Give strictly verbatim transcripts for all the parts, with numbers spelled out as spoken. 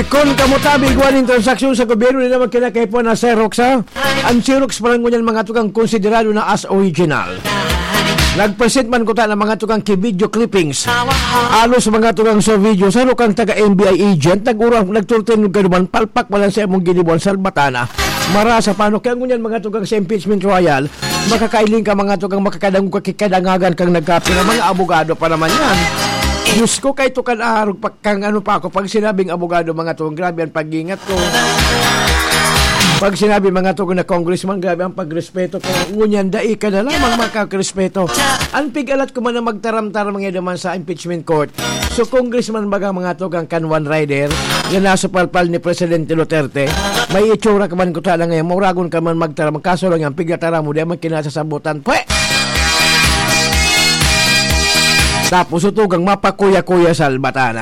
Kun kamo tabi igwa nin transaksyon sa gobyerno, di naman kinakaipuhan na Xerox, ha? Ang Xerox pa lang ngunyan, mga tugang, konsiderado na as original. Nag-present man kuta na, mga tugang, ki video clippings. Alos, mga tugang, sa video, sa lukang taga N B I agent, nag-urang, nagturtin ka duman, palpak pa lang sa imong ginibuan, salbatana. Marasa pa, ano? Kaya ngunyan, mga tugang, sa impeachment trial, makakailing ka, mga tugang, makakadangog ka, kikadangagan kang nagkapira. Mga abogado pa naman yan. Diyos ko, kay tukan arog pa, kang ano pa ako, pag sinabing abogado, mga tugang, grabe ang pag-ingat ko. Pag sinabi, mga tugang, na congressman, grabe ang pagrespeto ko. Ngunyan, dai ka na lamang makakrespeto. Ang pig-alat ko man na magtaram-taram ngayon naman sa impeachment court. So, congressman baga, mga tugang, kan one rider, na nasa palpal ni Presidente Duterte, may itsura ka man kuta na ngayon, mauragon ka man magtaram. Kaso lang yan, pigataram mo, di man kinasasabutan. Pwe! Tapos, tugang mapakuya-kuya sa albatana.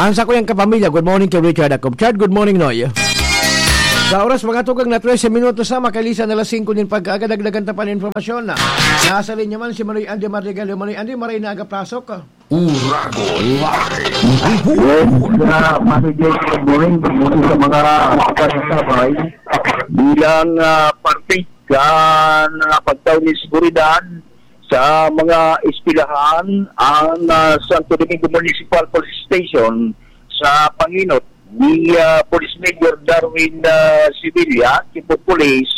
Ang sa kuyang kapamilya, good morning to Richard Acop. Chard, good morning, Noy. Sa oras, mga tugang na trese minutos na, makalisan na alas singko nin pagkaagad, dagdagan ta pa nin impormasyon na. Nasa linya man si Manoy Andy Madrigal. Manoy Andy, maray na aga, plasok. Uragon Live. Yes, uh, Manoy Jay, good morning. Good morning sa mga makasabay. Bilang, ah, parte kan, ah, pagtaw ni seguridad sa mga eskwelahan, ang, ah, Santo Domingo Municipal Police Station sa pangenot ni, ah, Police Major Darwin, ah, Sevilla, Chief of Police,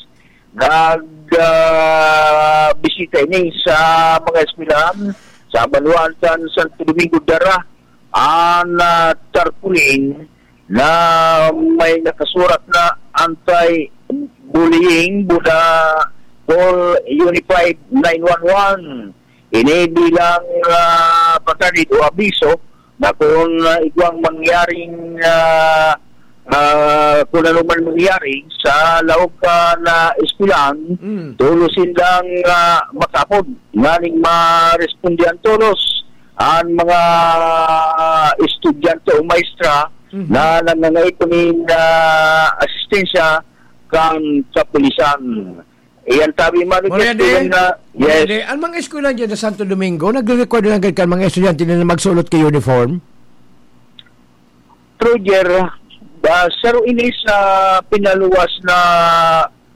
nag, ah, bisita ini sa mga eskwelahan sa banwaan kan Santo Domingo. Dara an, ah, tarpaulin na may nakasurat na anti-bullying, Buda, call Unified nine one one. Ini bilang, ah, pagkadid o abiso na kung, ah, igwang mangyaring, ah, ah, kung ano man mangyari sa laog ka na eskwelahan, Mm. tolos sindang, ah, makapod nganing marespondihan tolos an mga estudyante o maestra Mhm. na nangangaipo nin, ah, asistensya kan kapulisan. Iyan tabi, Mano Maria Jess, de, bilang na, Maria yes. de, ang mga eskwela dyan sa Santo Domingo, nagre-require na agad kan mga estudyante na magsulot kay uniform? Roger, ah, saro ini sa pinaluwas na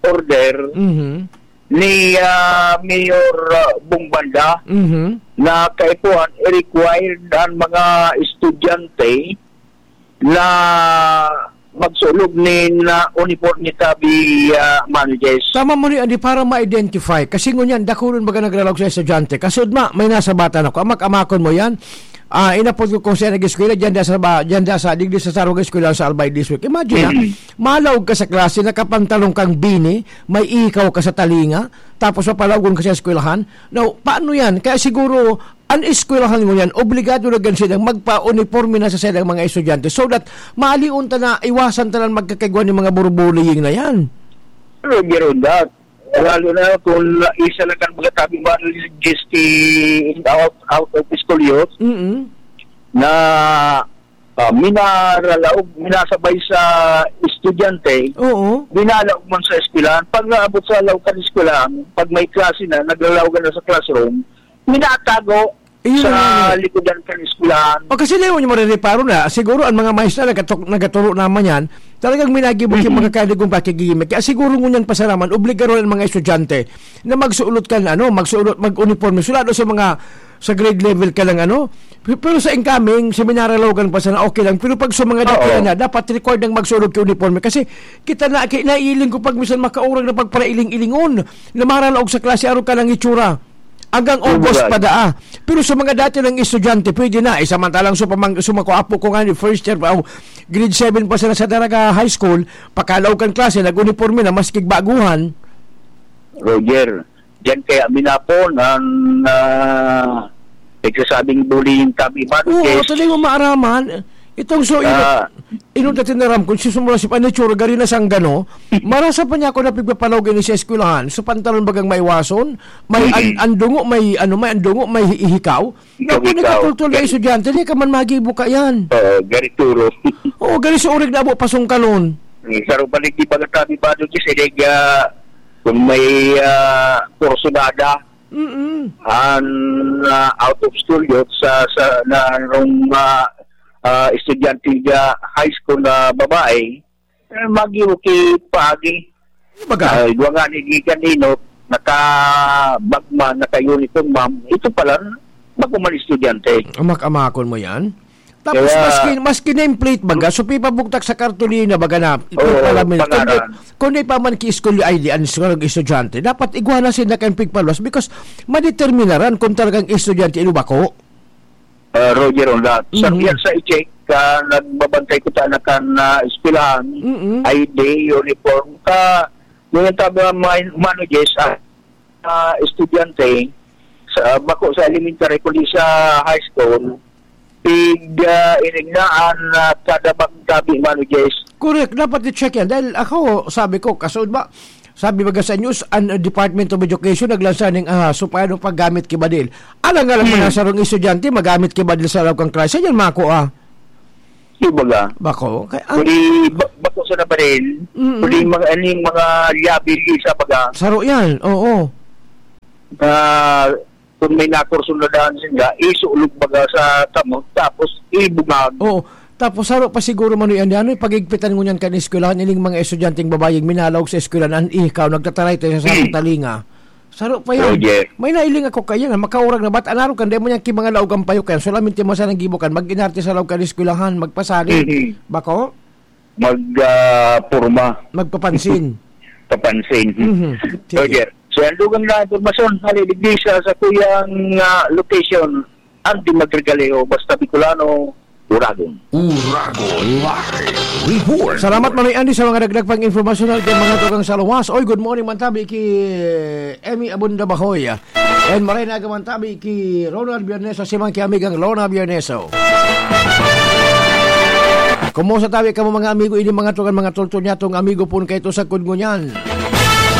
order Mhm. ni, ah, Mayor, ah, Bong Banda Mhm. na kaipuhan, i-required ang mga estudyante na magsulog nin, ah, uniforme tabi, ah, Mano Jess. Tama mo ni, Adi, para ma-identify. Kasi ngunyan, dakulon baga nagralaog sa estudyante. Kasud ma, may nasa bata na ko. Amak-amakon mo yan. Ah, inapod ko kung saan nag-eskwela, dyan da sa ba, dyan da sa, digdi sa sarong eskwela sa Albay District. Imagine, ha? Mm. Malaog ka sa klase, nakapantalon kang bini, may ikaw ka sa talinga, tapos papalaogon ka sa eskwelahan. Now, paano yan? Kaya siguro, an eskwelahan ngunyan, obligado na gan silang magpa-uniporme na sa silang mga estudyante so that maalion ta na iwasan ta na magkakaigwa nin mga bullying na yan. Pero, Jeron, that, lalo na kung isa lang kan mga tabi ba, G S T out, out of school youth, Mm-mm. na, ah, minaralaog, minasabay sa estudyante, Oo. binalaog man sa eskwelahan. Pag naabot sa laog kan eskwelahan, pag may klase na, naglalaogan na sa classroom, minatago Iyon sa na nga, eh. likodan kan eskwelahan. O, kasi, Leo, yung marereparo na, siguro ang mga maestra nagatok-, nagaturo naman yan, talagang minagibo yung Mm-mm. mga kaligong pakigimik. Kaya siguro ngunyan pasaraman, obligaron ang mga estudyante na magsuot kan, ano, magsuot, mag-uniforme. Sulado sa mga, sa grade level ka lang, ano. P-, pero sa incoming, sa minaralaogan pa sana, okay lang. Pero pag sa mga dati Oo. na, dapat required ang magsuot ka uniforme. Kasi kita na, ki-, naiiling ko pag minsan makaurag na pagparailing-ilingon na maralaog sa klase, araw ka lang itsura. Hanggang August Correct. pa daa. Pero sa mga dati ng estudyante, pwede na. Eh, samantalang sa pamang-, sa mga apo ko nga ni first year, oh, grade seven pa sila sa Daraga High School, pakalaog kan klase, nag-uniforme na, maski baguhan. Roger, diyan kaya minapon ang, ah, nagsasabing bullying tabi man, Oo, yes. Tuloy mo maaraman. Itong so, ino-, Ah. ino dati na ram, kung susumura si Panitsura, gari na sanggano, marasa pa niya ako na pigpapalaog ini sa eskwelahan. So, pantalon bagang maiwason, may an-, Mm-mm. andungo, may, ano, may andungo, may hi-, ihikaw. Ikaw, Naku, ikaw. nagkatultol na Gari- estudyante, di ka man magibo ka yan. Oo, gari turo. Oo, gari sa urig na abo, pasungkalon. Eh, sa rubalik di pagkatabi ba doon, kasi nag, ah, kung may, ah, kursunada, Mm-mm. an, ah, out of school youth sa, sa, na, nung, ah, ah, estudyante sa high school na babae, eh, magi-okay paagi. Baga? Ah, igwa nga ni gikan inot, nakabagman, naka-uniform, ma'am. Ito pala, bago man estudyante. Amak-amakon mo yan? Tapos, Kaya maski, maski name plate, baga, so pipabugtak sa kartolina, baga na, Oo, pipalamin. Kundi, pangaran. Kundi pa man ki school I D ang mga estudyante, dapat igwa na sila kan pigpaluwas because madeterminaran kung talagang estudyante ino bako. Ah, Roger, on that. Sa, Mhm. Yan sa i-check, ka nagbabantay ko ta na kan, ah, eskwelahan, Mm-mm. I D, uniform, ka, ngunyan tabi ang mga, mga ano, Jess, ah, ah, estudyante, sa, bako sa elementary, kundi sa high school, pig, ah, inignaan na kada bang tabi, mano, Jess. Correct, dapat i-check yan. Dahil ako, sabi ko, kasunod ba, sabi baga sa news, ang Department of Education naglansa ning, ah, so paano paggamit ki badil. Alang-alang Hmm. mga sarong estudyante, magamit ki badil sa loob kang klase. Yan, mako, ah. Di baga? Bako. Kaya, ang Kundi ba-, bako sa nabarin, Mm-mm. kundi mga, aning mga liability sa baga. Saro yan, oo. Na kung may nakursunadahan sinda, isulog baga sa kamot, tapos ibungag. Oo. Tapos saro pa siguro, Manoy Andy, ano yung pagigpitan ngunyan kan eskwelahan, ining mga estudyanteng babaeng minalaog sa eskwelahan, an ikaw, nagtataray tayo sa sarong Hmm. talinga. Saro pa yan. Roger. May nailing ako kaya na makaurag na bat, anaro kan, demo niyan ki mga laog ang payo kayan, solamente mo sanang gibo kan, mag-inarte sa laog kan eskwelahan, magpasalig. Mhm. Bako? Mag, ah, porma. Magpapansin. Papansin. Mhm. Sige. Roger. So, yan dugang na impormasyon, hali digdi sa, sa kuyang, ah, location, ang di magregaleho, basta Bicolano, Uragon. Uragon Live Report. Salamat, Manoy Andy, sa mga dagdag pang impormasyon natin, mga tugang sa luwas. Oy, good morning, man tabi ki Emmy Abunda Bahoy. And maray na agaman tabi ki Ronald Bierneso, si Monkey Amigang Lona Bierneso. Kumusta tabi kamo, mga amigo, ini mga tugang, mga tultol niya, tong amigo pon kaito sa kudngo niyan.